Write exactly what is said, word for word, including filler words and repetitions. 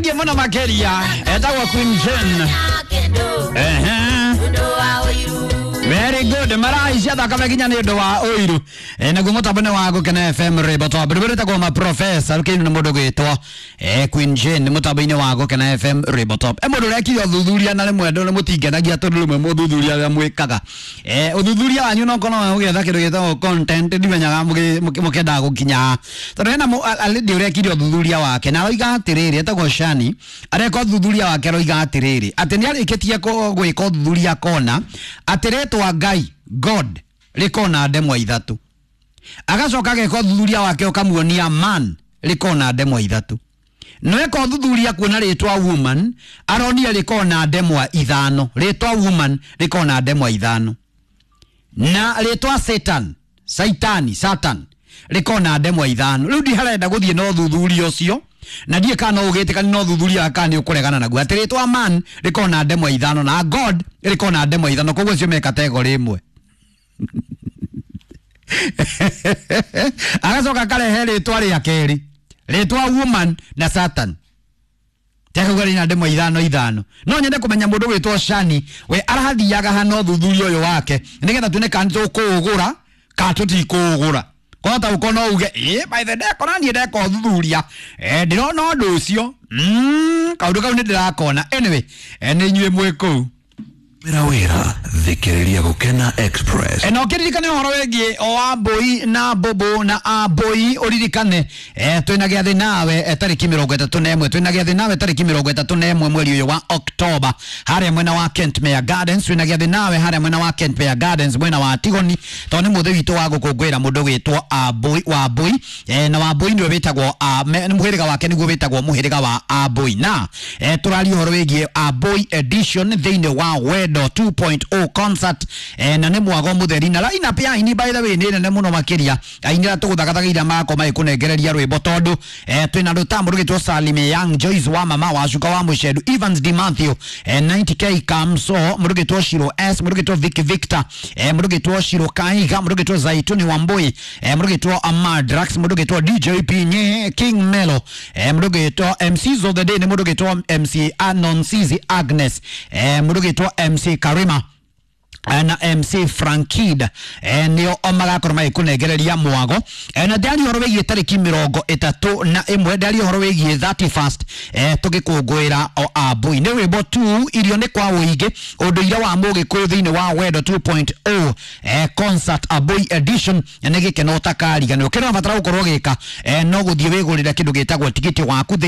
Thengiũ mũno makĩria. Etagwo Queen Jane. Ehe. Very good. Maraicia thakame nginya nĩ ũndũ wa ũiru. E, naguo mũtambo nĩ wa Gũkena F M rwĩmbo twambũ rwĩtagwo maprofesa rũkĩinwo nĩ mũndũ gwĩtwo e, Queen Jane mũtambo-inĩ wa Gũkena F M rwĩmbo top. E, mũndũ ũrekire ũthuthuria na rĩmwe andũ nĩ mũtingenagia tondũ rĩmwe mũthuthuria ũrĩa mwĩkaga. E, ũthuthuria wanyu no korwo ũgĩetha kĩndũ gĩtagwo content ndimenyaga mũkĩendaga gũkinya. Tondũ hena lady ũrekire ũthuthuria wake na aroiga atĩrĩrĩ, etagwo Shani, areka ũthuthuria wake aroiga atĩrĩrĩ atĩ nĩ arĩkĩtie gwĩka ũthuthuria kona atĩ rĩtwa Ngai God rĩkona ndemwa ithatũ, agacoka ageka ũthuthuria wake ũkamuonia man rĩkona ndemwa ithatũ, no eka ũthuthuria kuona rĩtwa woman aronia rĩkona ndemwa ithano, rĩtwa woman rĩkona ndemwa ithano, na rĩtwa Satan Saitani Satan rĩkona ndemwa ithano. Rĩu ndiharenda gũthiĩ na ũthuthuria ũcio na ndiĩ kana no ũgĩtĩkani na ũthuthuria kana nĩ ũkũregana naguo atĩ rĩtwa man rĩkona ndemwa ithano na God rĩkona ndemwa ithano, koguo cio me kategori ĩmwe. Agacoka akarehe rĩtwa rĩa kerĩ rĩtwa woman na Satan tekauga rĩna ndemwa ithano ithano. No nyende kũmenya mũndũ gwĩtwo Shani we arathiaga hana ũthuthuria ũyũ wake nĩgetha tuone kana tũkũũgũra kana tũtikũũgũra. Kota uko no uge eh by the day kona niĩ ndeka ũthuthuria eh ndĩrona ũndũ ũcio mm kaũndũ kau nĩ ndĩrakona. Anyway, nĩ inyuĩ mwĩ kũu wĩra wĩra thikĩrĩria Gũkena Express. Na ũkĩririkane ũhoro wĩgiĩ o Wambũi na Mbũmbũ na Ambũi, ũririkane eh twĩna gĩathĩ nawe tarĩki mĩrongo ĩtatũ na ĩmwe, twĩna gĩathĩ nawe tarĩki mĩrongo ĩtatũ na ĩmwe mweri ũyũ wa Oktoba harĩa mwena wa Kentmere Gardens. Twĩna gĩathĩ nawe harĩa mwena wa Kentmere Gardens mwena wa Tigoni, tondũ nĩ mũthĩ witũ wa gũkũngũĩra mũndũ wĩtwo Ambũi Wambũi eh na Wambũi nĩwe wĩtagwo mũhĩrĩga wake nĩguo wĩtagwo mũhĩrĩga wa Ambũi, na eh tũraria ũhoro wĩgiĩ Ambũi edition thĩinĩ wa Wendo two point oh concert eh, na nĩ mwago mũtheri na line up ya aini by the way nĩ nene mũno makĩria aini arĩa tũgũthagathaga makwa magĩkũnengereria rwĩmbo tondũ eh, twĩna rũtambo rũgĩtwo Salime Young Joyce wa mama wa Cuka wa Mũcendu Evans Di Mathew eh, ninety K Kamso mũrũgĩtwo Shiro S mũrũgĩtwo Vic Victor eh, mũrũgĩtwo Shiro Kaiga mũrũgĩtwo Zaituni Wambui eh, mũrũgĩtwo Amadrax mũrũgĩtwo D J P Nye King Melo eh, mũrũgĩtwo M Cs of the day nĩ mũrũgĩtwo M C Anonsizi Agnes eh, mũrũgĩtwo M C Karima na M C Frankid eh, nĩo o magakorwo magĩkũnengereria mwago eh, na ndĩaria ũhoro wĩgiĩ tarĩki mĩrongo ĩtatũ na ĩmwe, ndĩaria ũhoro wĩgiĩ thirty first eh, tũgĩkũngũĩra o Ambũi nĩ rwĩmbo tu irio nĩ kwa ũingĩ ũndũire wa mũgĩkũyũ thĩinĩ wa Wendo two point oh eh, concert Ambũi edition nĩ gĩkeno ũtakariganĩrwo. Kĩrĩa ũrabatara gũkorwo ũgĩka eh, no gũthiĩ wĩgũrĩre kĩndũ gĩtagwo tigiti waku.